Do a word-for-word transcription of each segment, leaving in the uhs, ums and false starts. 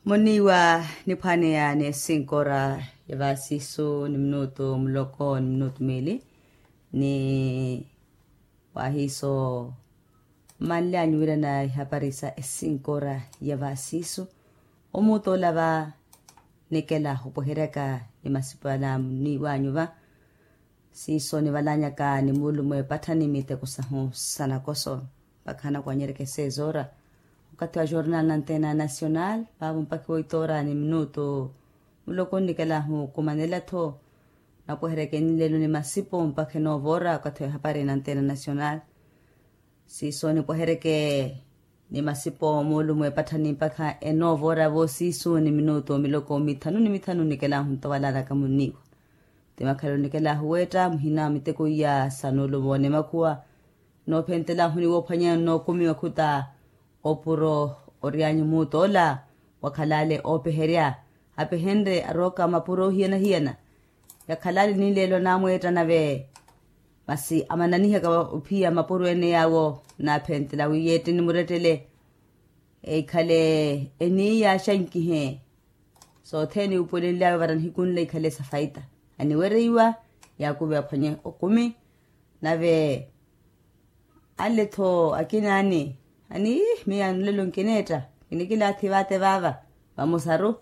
Muniiwa niphwaneya ni esinkora ya vaasisu ni minutu muloko ni minutu miili, ni wahiiso mmanly'anyu wiirana ihapari sa esinkora ya vaasisu. Omuuta ola va nikela opweheryaka ni masipu ala muniiw'anyu va. Siiso nivalanyaka ni muulumo epattha ni miteko sahu sa nakoso mpakha anakwanyereke sezoora. Okathi wa jornal na antena nacional vaavo mpakha woitoora ni minutu muloko nnikelahu okumanela-tho. Napweheryeke nlelo ni masipo mpakha enoovoora okathi wa ehapari na antena nacional. Siiso nipweheryeke ni masipo muulumo epatthani mpakha enoovoora voosiisu ni minutu miloko mithanu ni mithanu nnikelahu nto valanaka munniiwa. Ti makhalelo nikelahu weetta muhina miteko iya sa nuulumo ni makhuwa noophentelahu ni woophwanya nnookumiwa khuta opuro ory'anyu muuta ola wakhalale oopeherya. Apehenrye arooka mapuro ohiyana-hiyana yakhalale ni leelo anamweetta nave masi amananihaka ophiya mapuro ene yaawo naaphentela wi yeetteni murettele ekhale eniiya axankihe. Sothene iwupuwelenly'awe vara nihiku nla ikhale sa faita aniwereiwa yaakuve aphwanye okumi. Nave ale-tho akina ani ani miyo anulelo nkineetta kinikilaathi vaate vaava vamosaru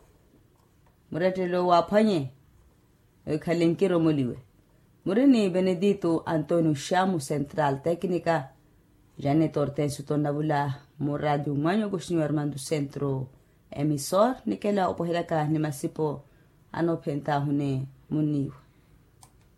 murettelo waaphwanye. Oikhale nkiromoliwe muri ni benedito antonio xamu central tecnica. Janet hortensio tonnavula mu radio mwanyu okoxiniwa armando centro emisor nikela opweheryaka ni masipo anoophentaahu ni munniiwa.